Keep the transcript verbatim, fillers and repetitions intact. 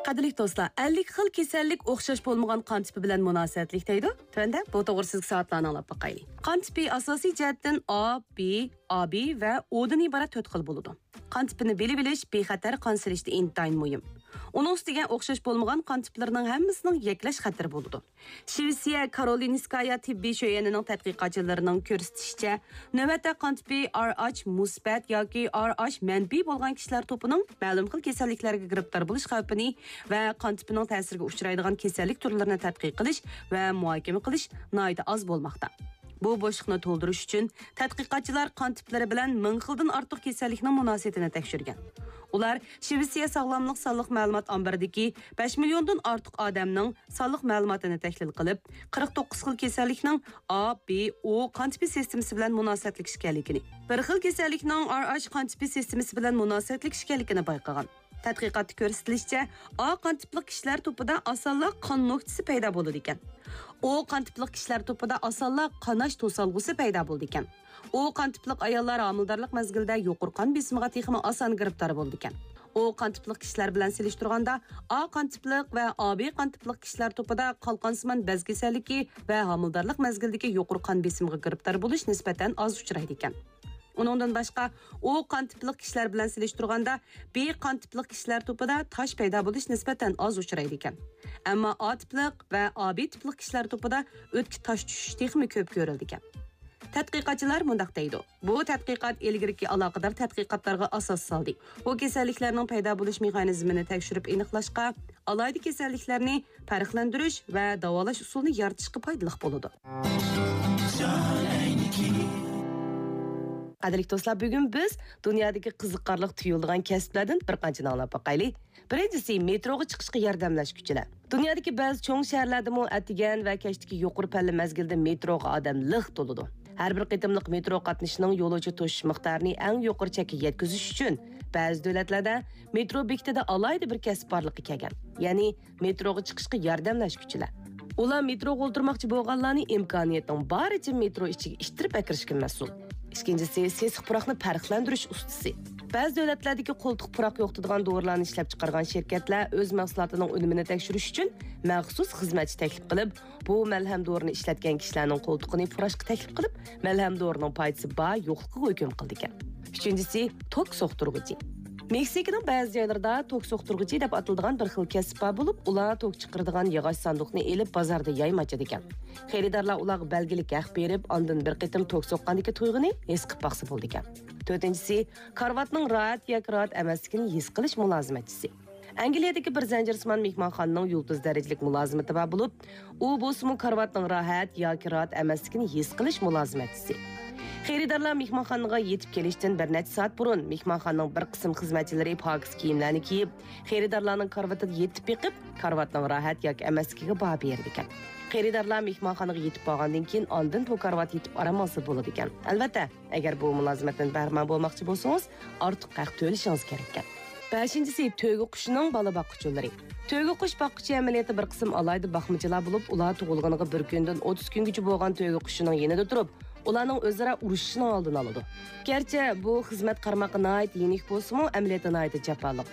قەدىرلىك دوستلار، ئەللىك خىل كېسەللىك ئوخشاش بولمىغان قان تىپى بىلەن مۇناسىۋەتلىك دەيدۇ. تۆۋەندە بۇ توغرىسىدىكى سوئاللارنى ئاڭلاپ باقايلى. قان تىپى ئاساسىي جەھەتتىن ئا، بى، ئا بى ۋە ئودىن ئىبارەت تۆت خىل بولىدۇ. قان تىپىنى بىلىۋېلىش بىخەتەر قان سېلىشتا ئىنتايىن مۇھىم. ئۇنىڭ ئۈستىگە ئوخشاش بولمىغان قان تىپلىرىنىڭ ھەممىسىنىڭ يەكلەش خەتىرى بولىدۇ. شىۋېتسىيە كارولىنسكايا تېببىي شۆيەنىنىڭ تەتقىقاتچىلىرىنىڭ كۆرسىتىشىچە، نۆۋەتتە قان تىپى ئار ئاچ مۇسبەت ياكى ئار ئاچ مەنپىي بولغان كىشىلەر توپىنىڭ مەلۇم خىل كېسەللىكلەرگە گىرىپتار بولۇش خەۋپىنى ۋە قان تىپىنىڭ تەسىرىگە ئۇچرايدىغان كېسەللىك تۈرلىرىنى تەتقىق قىلىش ۋە مۇھاكىمە قىلىش ناھايىتى ئاز بولماقتا. بۇ بوشلۇقنى تولدۇرۇش ئۈچۈن تەتقىقاتچىلار قان تىپلىرى بىلەن مىڭ خىلدىن ئارتۇق كېسەللىكنىڭ مۇناسىۋىتىنى تەكشۈرگەن. ئۇلار شىۋېتسىيە ساغلاملىق سانلىق مەلۇمات ئامبىرىدىكى بەش مىليوندىن ئارتۇق ئادەمنىڭ سانلىق مەلۇماتىنى تەھلىل قىلىپ، قىرىق توققۇز خىل كېسەللىكنىڭ ئا، بى، ئو قان تىپى سىستېمىسى بىلەن مۇناسىۋەتلىك ئىكەنلىكىنى، بىر خىل كېسەللىكنىڭ ئار ئاچ قان تىپى سىستېمىسى بىلەن مۇناسىۋەتلىك ئىكەنلىكىنى بايقىغان. تەتقىقاتتا كۆرسىتىلىشىچە، ئا قان تىپلىق كىشىلەر توپىدا ئاسانلا قان نۆكچىسى پەيدا بولىدىكەن. ئو قان تىپلىق كىشىلەر توپىدا ئاسانلا قاناش توسالغۇسى پەيدا بولىدىكەن. ئو قان تىپلىق ئاياللار ھامىلىدارلىق مەزگىلىدە يۇقىرى قان بېسىمىغا تېخىمۇ ئاسان گىرىپتار بولىدىكەن. ئو قان تىپلىق كىشىلەر بىلەن سېلىشتۇرغاندا، ئا قان تىپلىق ۋە ئا بى قان تىپلىق كىشىلەر توپىدا قالقانسىمان بەز كېسەللىكى ۋە ھامىلىدارلىق مەزگىلىدىكى يۇقىرى قان بېسىمىغا گىرىپتار بولۇش نىسبەتەن ئاز ئۇچرايدىكەن. ئۇنىڭدىن باشقا، ئو قان تىپلىق كىشىلەر بىلەن سېلىشتۇرغاندا، بى قان تىپلىق كىشىلەر توپىدا تاش پەيدا بولۇش نىسبەتەن ئاز ئۇچرايدىكەن. ئەمما ئا تىپلىق ۋە ئا بى تىپلىق كىشىلەر توپىدا ئۆتكە تاش چۈشۈش تېخىمۇ كۆپ كۆرۈلىدىكەن. تەتقىقاتچىلار مۇنداق دەيدۇ، بۇ تەتقىقات ئىلگىرىكى ئالاقىدار تەتقىقاتلارغا ئاساس سالدى. بۇ كېسەللىكلەرنىڭ پەيدا بولۇش مېخانىزمىنى تەكشۈرۈپ ئېنىقلاشقا، ئالاھىدە كېسەللىكلەرنى پەرقلەندۈرۈش ۋە داۋالاش ئۇسۇلىنى يارىتىشقا پايدىلىق بولىدۇ. قەدىرلىك دوستلار، بۈگۈن بىز دۇنيادىكى قىزىقارلىق تۇيۇلىدىغان كەسىپلەردىن بىر قانچىنى ئاڭلاپ باقايلى. بىرىنچىسى، مېتروغا چىقىشقا ياردەملەشكۈچىلەر. دۇنيادىكى بەزى چوڭ شەھەرلەردىمۇ ئەتىگەن ۋە كەچتىكى يۇقىرى پەللە مەزگىلدە مېتروغا ئادەم لىق تولىدۇ. ھەر بىر قېتىملىق مېترو قاتنىشىشنىڭ يولۇچى توشۇش مىقدارىنى ئەڭ يۇقىرى چەككە يەتكۈزۈش ئۈچۈن، بەزى دۆلەتلەردە مېترو بېكىتىدە ئالاھىدە بىر كەسىپ بارلىققا كەلگەن، يەنى مېتروغا چىقىشقا ياردەملەشكۈچىلەر. ئۇلار مېتروغا ئولتۇرماقچى بولغانلارنى ئىمكانىيەتنىڭ بارىچە مېترو ئىچىگە ئىتتىرىپ ئەكىرىشكە مەسئۇل. ئىككىنچىسى، سېسىق پۇراقنى پەرقلەندۈرۈش ئۇستىسى. بەزى دۆلەتلەردىكى قولتۇق پۇراق يوقىتىدىغان دورىلارنى ئىشلەپچىقارغان شىركەتلەر ئۆز مەھسۇلاتىنىڭ ئۈنۈمىنى تەكشۈرۈش ئۈچۈن مەخسۇس خىزمەتچى تەكلىپ قىلىپ، بۇ مەلھەم دورىنى ئىشلەتكەن كىشىلەرنىڭ قولتۇقىنى پۇراشقا تەكلىپ قىلىپ، مەلھەم دورىنىڭ پايدىسى بار يوقلۇقىغا ھۆكۈم قىلىدىكەن. ئۈچىنچىسى، توك سوقتۇرغۇچى. مېكسىكىنىڭ بەزى جايلىرىدا توك سوقتۇرغۇچى دەپ ئاتىلىدىغان بىر خىل كەسىپ بار بولۇپ، ئۇلار توك چىقىرىدىغان ياغاچ ساندۇقنى ئېلىپ بازاردا يايما ئاچىدىكەن. خېرىدارلار ئۇلارغا بەلگىلىك ھەق بېرىپ، ئاندىن بىر قېتىم توك سوققاندىكى تۇيغۇنى ھېس قىلىپ باقسا بولىدىكەن. تۆتىنچىسى، كارىۋاتنىڭ راھەت ياكى راھەت ئەمەسلىكىنى ھېس قىلىش مۇلازىمەتچىسى. ئەنگلىيەدىكى بىر زەنجىرسىمان مېھمانخانىنىڭ يۇلتۇز دەرىجىلىك مۇلازىمىتى بار بولۇپ، ئۇ بولسىمۇ كارىۋاتنىڭ راھەت ياكى راھەت ئەمەسلىكىنى ھېس قىلىش مۇلازىمەتچىسى. خېرىدارلار مېھمانخانىغا يېتىپ كېلىشتىن بىر نەچچە سائەت بۇرۇن مېھمانخانىنىڭ بىر قىسىم خىزمەتچىلىرى پاكىز كىيىملەرنى كىيىپ، خېرىدارلارنىڭ كارىۋىتىدا يېتىپ بېقىپ، كارىۋاتنىڭ راھەت ياكى ئەمەسلىكىگە باھا بېرىدىكەن. خېرىدارلار مېھمانخانىغا يېتىپ بارغاندىن كېيىن، ئاندىن بۇ كارىۋاتتا يېتىپ ئارام ئالسا بولىدىكەن. ئەلۋەتتە، ئەگەر بۇ مۇلازىمەتتىن بەھرىمەن بولماقچى بولسىڭىز، ئارتۇق ھەق تۆلىشىڭىز كېرەككەن. بەشىنچىسى، تۆگە قۇشىنىڭ بالا باققۇچىلىرى. تۆگە قۇش باققۇچى ئەمەلىيەتتە بىر قىسىم ئالاھىدە باقمىچىلار بولۇپ، ئۇلار تۇغۇلغىنىغا بىر كۈندىن ئوتتۇز كۈنگىچە بولغان تۆگە قۇشىنىڭ يېنىدا تۇرۇپ، ئۇلارنىڭ ئۆزئارا ئۇرۇشۇشىنىڭ ئالدىنى ئالىدۇ. گەرچە بۇ خىزمەت قارىماققا ناھايىتى يېنىك بولسىمۇ، ئەمەلىيەتتە ناھايىتى جاپالىق.